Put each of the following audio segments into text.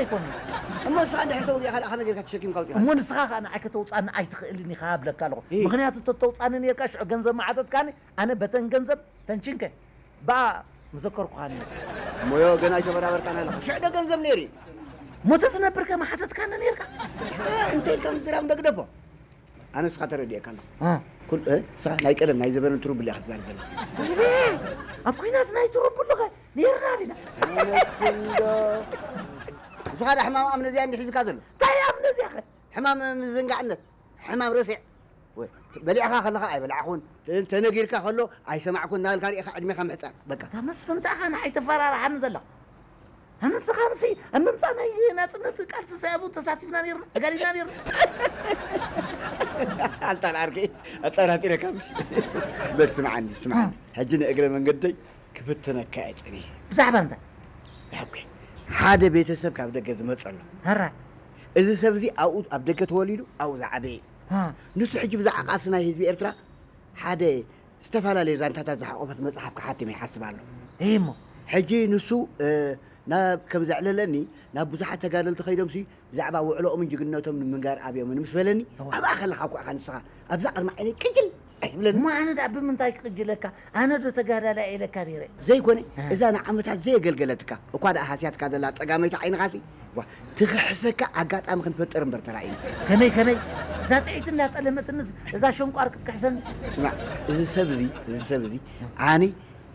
ኣይኮነን። እሞ ንስኻ እንድሕር ተውፅእኻ ደኣ ከመይ ጌርካ ተሸኪምካ ኣውፂኻ? እሞ ንስኻ ኸኣ ንዓይ ከተውፅኣኒ ኣይትኽእልን ኢኻ እብለካ ኣለኹ። እ። ምኽንያቱ ተተውፅኣኒ ኔርካ ሽዑ ገንዘብ ምሓተትካኒ፣ ኣነ በተን ገንዘብ ተንቺንከ ብኣ ምዘከርኩኻ ነይረ። እሞዮ ገና ኣይተበራበርካን ኣለኻ። ሽዑ ዶ ገንዘብ ነይሩ እዩ? እሞ ተዝነብር ከ ምሓተትካኒ ኔርካ? እንተ ኢልካ ምዝራብ እንዶ ግደፎ። ኣነ ንስኻ ተረዲኤካ ኣለኹ። እ። ኩል-፣ እ፣ ንስኻ ናይ ቀደም ናይ ዘበነ ትሩብሊ ኢኻ ትዛረብ ዘለኻ። ወይኔ፣ ኣብ ኲናት ናይ ትሩብሊ ኸ ነይርና ዲና? ኣነስ ክንዶ። ንስኻ ዳ ሕማም ኣምነዚያ እንዲ ሒዝካ ዘሎ? እንታይ ኣምነዚያ ኸ? ሕማም ምዝንጋዕነት፣ ሕማም ረሲዕ። ወይ፣ በሊዕኻ ከለኻ ኣይበላዕኹን፣ ተ-፣ ተነጊርካ ከሎ ኣይሰማዕኩን እናበልካ ርኢኻ ዕድሜኻ ምሕጻር። በቃ። እታ መስፍን እንታይ ኢኻ ንዓይ ተፈራርሓኒ ዘለኻ? ኣነ ንስኻ ንሲ ኣብ ምምጻእ ናይ ናጽነት ቃልሲ ሳያቡ ተሳቲፍና ነይርና፣ ተጋዲልና ነይርና። ኣንታ ንዓርከይ ኣጠራጢረካ ምሽ? በል ስምዓኒ፣ ስምዓኒ። እ። ሕጂ ንእግረ መንገደይ ክፍትነካ እየ ጸኒሐ። ብዛዕባ እንታይ? ኦኬ። ሓደ ቤተሰብ ካብ ደገ ዝመጸ ኣሎ። ሀራ። እዚ ሰብ እዚ ኣብኡ ኣብ ደገ ተወሊዱ ኣብኡ ዝዓበየ እዩ። እ። ንሱ ሕጂ ብዛዕባ ቃልሲ ናይ ህዝቢ ኤርትራ ሓደ ዝተፈላለዩ ዛንታታት ዝሓቆፈት መጽሓፍ ክሓትም ይሓስብ ኣሎ። እሞ? ሕጂ ንሱ፣ እ፣ ናብ፣ ከም ዘዕለለኒ፣ ናብ ብዙሓት ተጋደልቲ ከይዶምሲ ብዛዕባ ውዕሎኦምን ጅግንነቶም ንምንጋር ኣብዮምን ምስ በለኒ፣ እዋ። ኣብኣ ከለኻ እኮ ኢኻ ንስኻ ኣብዛ ቅድሚ ዓይነይ ቅጅል ኣይትብለኒ። እሞ ኣነ ደኣ ብምንታይ ክቅጅለካ? ኣነ ዶ ተጋዳላይ ኢለካ ነይረ? ዘይኮነ፣ እ። እዛ ንዓመታት ዘየገልገለትካ፣ እኳ ደኣ ሃስያትካ ዘላ ጸጋመይቲ ዓይንኻሲ፣ ዋ፣ ትኽሕሰካ ኣጋጣሚ ክንፈጥር እምበር ተራእዩ። ከመይ፣ ከመይ? እዛ ጥዒት እንዳጠለመትንስ እዛ ሸንቋር ክትክሕሰኒ? ስማዕ፣ እዚ ሰብ እዚ፣ እዚ ሰብ እዚ፣ ኣነ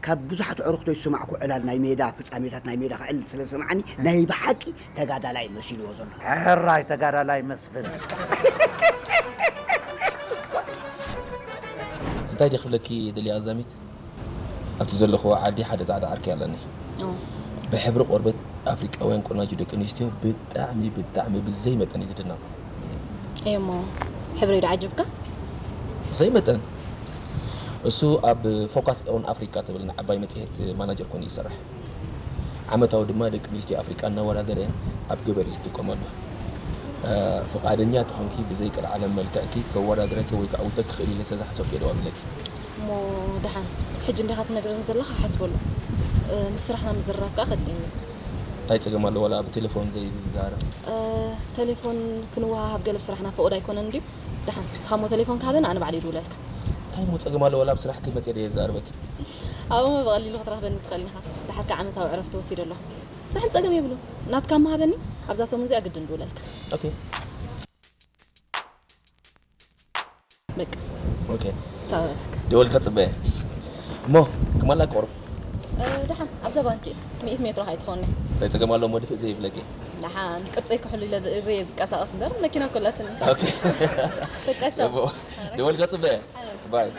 ካብ ብዙሓት ኣዕሩኽቶይ ዝሰማዕኩ ዕላል ናይ ሜዳ፣ ፍጻሜታት ናይ ሜዳ ክዕልል ስለ ዝሰማዓኒ፣ ናይ ብሓቂ ተጋዳላይ መሲልዎ ዘሎ። ሕራይ ተጋዳላይ መስፍን። እንታይ ድየ ክብለኪ ደልየ ኣዛሚት? ኣብቲ ዘለኽዎ ዓዲ ሓደ ጻዕዳ ዓርኪ ኣለኒ። ኦ። ብሕብሪ ቆርበት ኣፍሪቃውያን ቆናጁ ደቂ ኣንስትዮ ብጣዕሚ፣ ብጣዕሚ ብዘይ መጠን እዩ ዝድነቕ። እሞ ሕብረይ ዶ ዓጅብካ? ብዘይ መጠን። እሱ ኣብ ፎካስ ኦን ኣፍሪቃ ትብል ንዓባይ መጽሔት ማናጀር ኮይኑ ይሰርሕ። ዓመታዊ ድማ ደቂ ኣንስትዮ ኣፍሪቃ እናወዳደረ ኣብ ገበር እዩ ዝጥቀመሉ። እ፣ ፍቓደኛ ተኾንኪ ብዘይ ቅልዓለም መልክዕኪ ከወዳድረኪ ወይ ከዓ ውደኪ ክኽእል ኢለ ስለ ዝሓሰብኩ እየ ደዋዊለኪ። እሞ ደሓን፣ ሕጂ እንዲኻ ትነግረኒ ዘለኻ፣ ሓስበሉ። እ፣ ምስ ስራሕና ምዝርራብ ከኣ ከድልየኒ እዩ። እንታይ ጸገም ኣሎ ዋላ ብቴሌፎን ዘይዛረብ? እ፣ ቴሌፎን ክንወሃሃብ ገለ ብስራሕና ፍቑድ ኣይኮነን ድዩ? ደሓን፣ ንስኻ እሞ ቴሌፎን ክሃበኒ፣ ኣነ ባዕለይ ይድውለልካ። እንታይ እሞ ጸገም ኣሎ ዋላ ኣብ ስራሕኪ መጽየ ደየ ዘዛርበኪ? ኣብኡ እሞ ብቐሊሉ ክትረኽበኒ ትኽእል ኢኻ። ደሓር ከኣ ዓመታዊ ዕረፍቲ ወሲደ ኣለኹ። ደሓን ጸገም የብሉን። ናትካ እሞ ሃበኒ፣ ኣብዛ ሰሙን እዚኣ ግድን ድውለልካ። ኦኬ። በቃ። ኦኬ። ቻው በለካ። ደወል ክጽበየ። እሞ ክማላ ቆርብ። እ፣ ደሓን ኣብዛ ባንኪ ሚእቲ ሜትሮ ኣይትኾንኒ። እንታይ ጸገም ኣሎ እሞ ድፍእ ዘይብለኪ? ደሓን ቅርጸይ ክሕሉ ኢለ ርእየ ዝቀሳቐስ እምበር መኪና ኮላትኒ። ኦኬ። በቃ ቻው። እሞ ደወል ክጽበየ። ኣይ። ባይ።